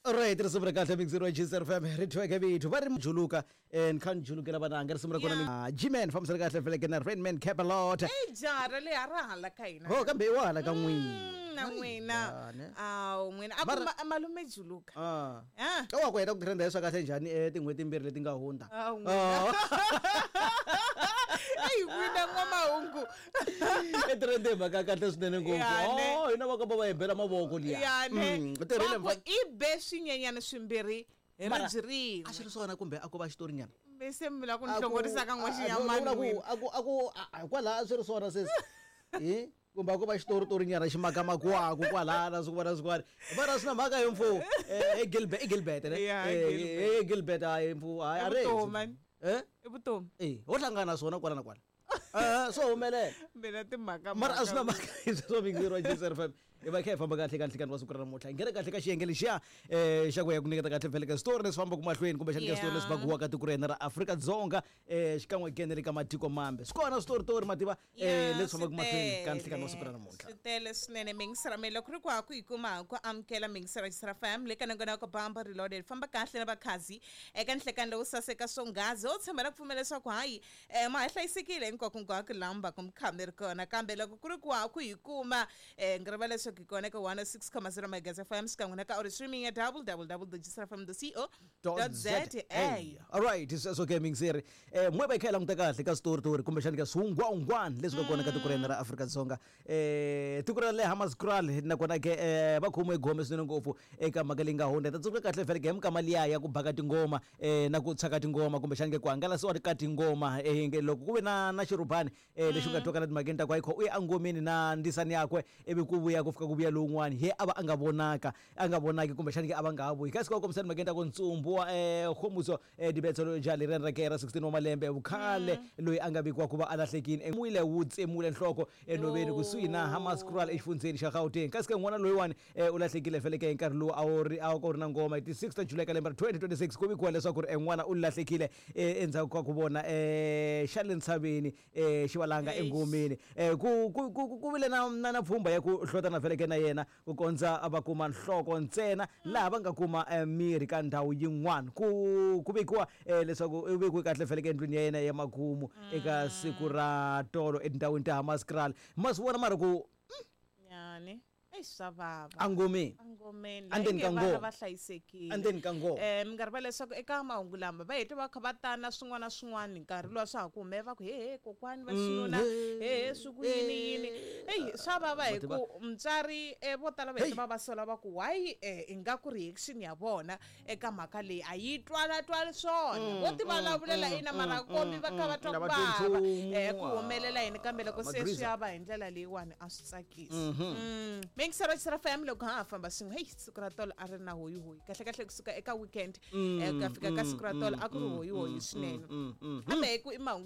Alright, risimu ra kahle mixer wa GCR FM ri thweke vithu va ri juluka ni kha ni julukela vananga risimu ra kona G-Man fambisana kahle feleke na Rainman Capalot. Ey jaha ra le a ra hala ka hina. Ho kambe i wa hala ka n'wina. Na n'wina. Awu n'wina a ku malume juluka. Ah. Ah. Ka wa ku heta ku trenda hi swa kahle njhani tin'hweti timbirhi leti nga hundza. Awu n'wina. Ey n'wina n'wamahungu. I trende hi mhaka ya kahle swinene ngopfu. Ya, ne. Oh, hina va kamba va hi bela mavoko liya. Ya ne. U tirhile Va ku mfana. i be swinyenyana swimbirhi hi Mara, ribye rin'we. A swi ri swona kumbe a ko va xitorinyana? Kumbe se mi lava ku ni A ku- hlongorisa ka a- a- n'waxinyamani a ku- n'wina. a ku a ku a- kwalaha a swi ri swona sesi. Hi? Kumbe a ko va xitoritorinyana xi makamakiwaku kwalaya na swin'wana na swin'wana. Mara swi na mhaka hi mfo. I Gilbert, i Gilbert ne? Ya, Gilbert. Gilbert hayi mfo, hayi I a ri. vutomi, man. Eh? I vutomi. Eh, ho hlangana na swona kwala na kwala. Swo humelela. Mina timhaka Mara a swi na mhaka. mhaka hi sweswo mixer wa GCR FM. Hi va kha hi famba kahle ka nhlikani wa siku ra namuntlha. Hi nghena kahle ka xiyenge lexiya xa ku ya ku nyiketa kahle vhele ka switori leswi fambaka mahlweni kumbexana ka switori leswi bakiwaka tiko ra hina ra Afrika-Dzonga xikan'we ke na le ka matiko mambe. Swi kona switoritori mativa Ya, leswi fambaka swi mahlweni ka tele. nhlikani wa siku ra namuntlha. Swi tele swinene mingisera me loko ri ku ha ku yi kuma ha ku amukela mingisera Xisera FM le ka nongonoko Bamba Reloaded famba kahle na vakhazi eka nhlekani lowu saseka swonghazi ho tshembela ku pfumela leswaku hayi ma ha hlayisekile hinkwako lamba ku mi kha mi ri kona kambe loko ku ri ku ha ku yi kuma ngi rivala leswaku hi kona eka 106.0 Megahertz FM xikan'we na ka audio streaming ya www.gsrfm.co.za. Alright, sweswo ke mingiseri. N'we va hi kha hi languta kahle ka switoritori kumbexana ka swihungwahungwani leswi nga kona ka tiko ra hina ra Afrika-Dzonga. Tiko ra le Hammanskraal nakona ke va khomiwe gome swinene ngopfu eka mhaka leyi nga hundza. Hi ta tsundzuka kahle vhele ke hi minkama liya ya ku baka tingoma na ku tshwa ka tingoma kumbexana ke ku hangalasiwa ka tingoma nge loko ku ve na xirhubani lexi nga twakala timhakeni ta ku ayikho u ye engomeni na ndisani yakwe ivi ku vuya ku fika ku vuya lowun'wani he a va a nga vonaka a nga vonaki kumbexani ke a va nga ha vuyi kasi ku kombisa timhakeni ta ku ntsumbu wa Kgomuso Dibetso loyi jaha leriyani ra ke ra 16 wa malembe vukhale loyi a nga vikiwa ku va a lahlekile nwile wu tsemule nhloko enhoveni kusuhi na Hammanskraal exifundzheni xa Gauteng kasi ke n'wana loyiwani u lahlekile vhele ke hi nkarhi lowu a wu ri a ku ri na ngoma hi ti 6 ta July ka lembe ra 2026 ku vikiwa leswaku ri n'wana u lahlekile endzhaku ka ku vona xa le ntshaveni xivalanga engomeni ku ku ku ku vile na na na pfhumba ya ku hlotana vhele ke na yena ku kondza va kuma nhloko ntsena laha va nga kuma miri ka ndhawu yin'wana ku ku vekiwa leswaku u vekiwe kahle vhele ke endlwini ya yena ya makumu eka siku ra tolo etindhawini ta Hammanskraal ma swi vona mara ku Nyani. Eish swa vava. Angomeni. Angomeni. Andzeni ka Inge ngoma. vana va hlayisekile. Andzeni ka ngoma. Mi nga rivali leswaku eka mahungu lama va hete va kha va tana swin'wana na swin'wana hi nkarhi luwa swa ha ku humelela va ku he he kokwani va xinuna he he swi ku yini yini. Eyi swa vava hi ku mutswari vo tala va hete va va sola va ku why ingaku reaction ya vona eka mhaka leyi a yi twala twali swona. Vo ti vulavulela ina mara kombi va kha va twa ku vava ku humelela yini kambe loko se swi ya va hi ndlela leyiwani a swi tsakisi. Mingisero Xisera FM loko ha ha famba swin'we heyi siku ra tolo a ri na hoyihoyi kahle kahle kusuka eka weekend ku ya fika ka siku ra tolo a ku ri hoyihoyi swinene kambe hi ku i mahungu.